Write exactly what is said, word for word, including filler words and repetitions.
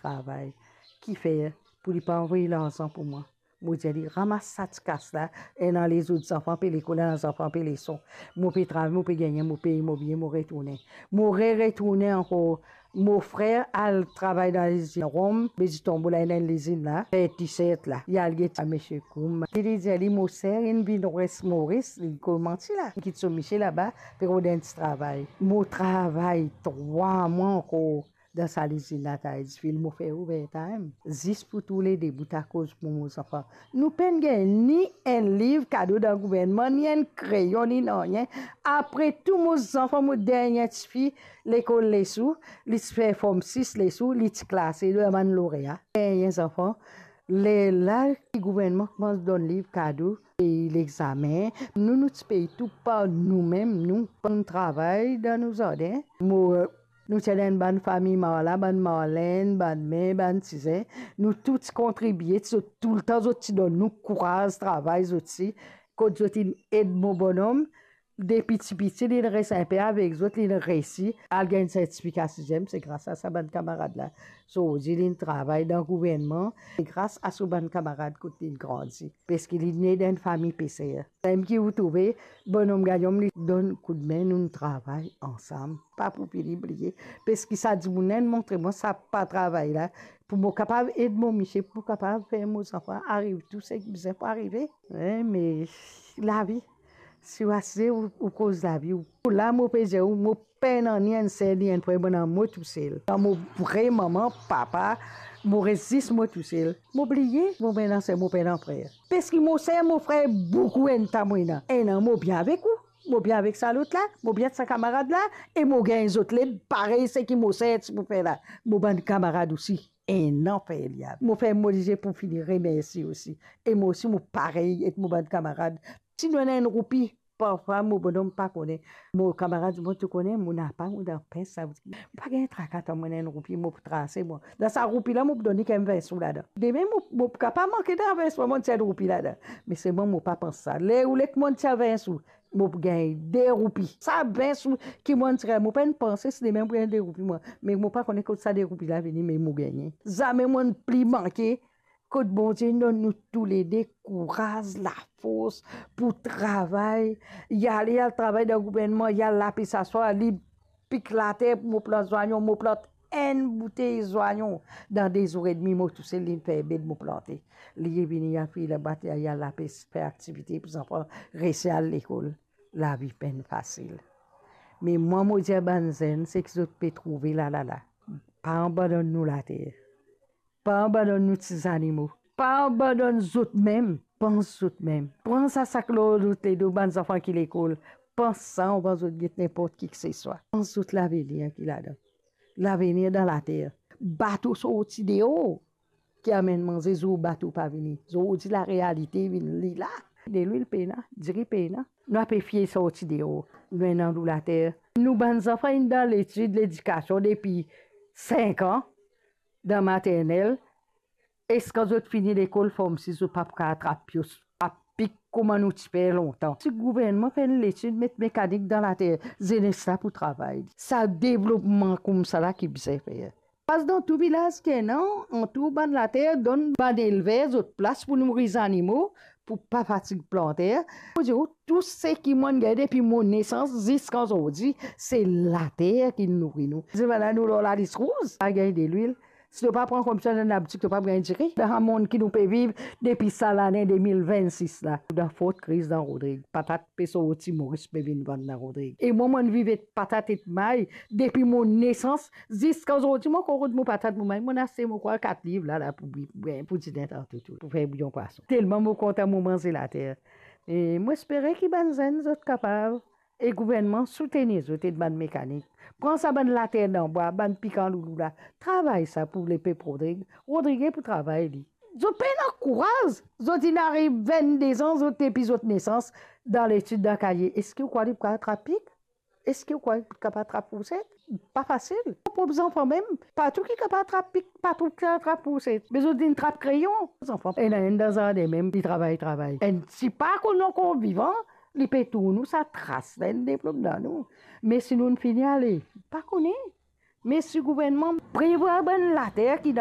travay. Kifer pou li pa anvoy larzan pou mwa? Mo dir li, ramas sa ti kas la, ena lezot zanfan pe lekol, ena zanfan pe leson. Mo pe travay, mo pe gagne, mo pey mo biye, mo retourne. Mo re-retourne ankor. Mo frer al travay dan lizinn rom, be di tonbo la, ena enn lizinn la, fer T-shirt la. Li al get sa misie Koum. Li, li dir li, mo ser inn vinn res Moris, li komanse la. Kit so misie laba, pe rod enn ti travay. Mo travay trwa mwa ankor dan sa lizinn la, ta Edgefield, mo fer overtime. Zis pou toulede bout akoz pou mo zanfan. Nou pa'nn gagn ni enn liv kado dan gouvernman, ni enn kreyon, ni nanye. Apre tou, mo zanfan, mo dernie tifi, lekol Lesou, li ti fer form sis Lesou, li ti klase dan bann lorea. Dernie zanfan, lerla ki gouvernman koumans donn liv kado, pey lexame. Nou, nou ti pey tou par noumem, nou, nou travay dan nou zardin. Mo, nou ti ena enn bann fami Marla, bann Marlenn, bann Me, bann Tizin. Nou tou ti kontribie, ti, zot toultan zot ti donn nou kouraz travay, zot ti, kot zot inn ed mo bonom, depi tipiti, li inn res inpe avek zot, li inn resi al gagn sertifika siziem, se gras a sa bann kamarad la. So, li inn travay dan gouvernman, se gras a so bann kamarad kot li inn grandi. Paski li ne dan enn fami peser. Mem ki ou trouve, bonom Gayom, li donn koudme, nou travay ansam. Pa pou fini bliye. Paski sa dimoun la inn montre mwa sa pa travay la, pou mo kapav ed mo misie, pou kapav fer mo zanfan ariv tou seki bizin pou arive. Wi, me lavi, si ou asize, ou, ou koz lavi, ou la, mo pe dir ou, mo pena ni enn ser, ni enn frer, mo ena mo tousel. Dan mo vre manman, papa, mo res zis mo tousel. Mo bliye, mo pena ser, mo pena frer. Paski mo ser, mo frer, boukou enn ta mo ena. Ena mo bien avek ou, mo bien avek sa lot la, mo bien sa kamarad la, e mo gagn zot led parey seki mo ser ti pou fer la. Mo bann kamarad osi, ena fer li avek. Mo ferm mo lizie pou fini remersie osi. E mo osi, mo parey ek mo bann kamarad. Si nou ena enn roupi, parfwa mo bonom pa kone. Mo kamarad, mo tou kone, mo napa, mo dan pens sa. Mo pa gagn traka, atann mo ena enn roupi, mo pou trase, mo. Dan sa roupi la, mo pou donn li kemem vin sou ladan. Demin, mo, mo pou kapav manke dan vin sou, mo tir enn roupi ladan. Me selman mo pa pans sa. Ler ou le ki mo tir vin sou, mo pou gagn de roupi. Sa vin sou ki mo tir, mo pa'nn panse si demin mo pou gagn de roupi, mwa. Me mo pa kone kot sa de roupi la vini, me mo gagne. Zame mo'nn pli manke. Kot Bondie donn nou toulede kouraz, lafors pou travay, li ale, li al travay dan gouvernman, li al lapes aswar, li pik later pou mo plant zwanyon, mo plant enn boutey zwanyon. Dan de zour edmi, mo tousel, li fer bed, mo plante. Li vini, li al fouy labwa, li al lapes, fer aktivite pou zanfan resi al lekol. Lavi pa'nn fasil. Me mwa, mo dir bann zenn, seki zot pe trouve la, la, la, pa abandonn nou later. Pa abandonn nou ti zanimo. Pa abandonn zotmem. Pans zotmem. Pran sa sak lor zot ledo, bann zanfan ki lekol. Pans sa, anvan zot get ninport kiseswa. Pans zot lavenir ki ladan. Lavenir dan later. Bato sorti deor ki amenn manze, zour bato pa vini. Zordi, larealite vinn li la. Delwil pena, diri pena. Nou ape fie sorti deor. Nou ena nou later. Nou bann zanfan inn dan letid, ledikasion depi sink an. Dan maternel, eski kan zot fini lekol, form sis, zot pa pou kapav trap pios, trap pik kouma nou ti fer lontan? Si gouvernman fer enn letid, met mekanik dan later, zenes la pou travay. Sa devlopman koumsa la ki bizin fer. Pas dan tou vilaz ki ena, antour bann later, donn bann elver zot plas pou nouri zanimo, pou pa fatig planter. Mo dir ou, tou seki mo'nn gagn depi mo nesans ziska zordi, se later ki nouri nou. Zis bann la nou lor lalis rouz, pa gagn delwil. Si to pa pran komsi enn abtik, to pa pou gagn diri. Dan sa mond ki nou pe viv depi sa lane de mil vennsis la, dan Fort Chris dan Rodrig, patat pe sorti Moris pe vinn vann dan Rodrig. E mwa, mo'nn viv et patat et may depi mo nesans, ziska zordi, mo ankor rod mo patat, mo may, mo'nn aste, mo krwar, kat liv la, la, pou bwi-, bwi-, pou dine tanto tou, pou fer bouyon pwason. Telman mo kontan mo manze later. E mo espere ki bann zenn, zot kapav, e gouvernman soutenir zot, et bann mekanik. Pran sa bann later dan bwa, bann pikan loulou la, travay sa pou lepep Rodrig. Rodrig pou travay li. Zot pena kouraz, zot inn ariv vennde zan, zot depi zot nesans, dan letid, dan kaye. Eski ou krwar li pou kapav trap pik? Eski ou krwar li pou kapav trap fourset? Pa fasil. Mo prop zanfan mem, pa tou ki kapav trap pik, pa tou ki kapav trap fourset. Me zot inn trap kreyon. Zanfan, ena enn dan zardin mem, li travay, travay. Enn ti pa konn ankor vivan, li pe tourn ou sa tras la, enn deplom dan nou. Me si nou'nn fini ale, pa kone. Me si gouvernman prevwar bann later ki dan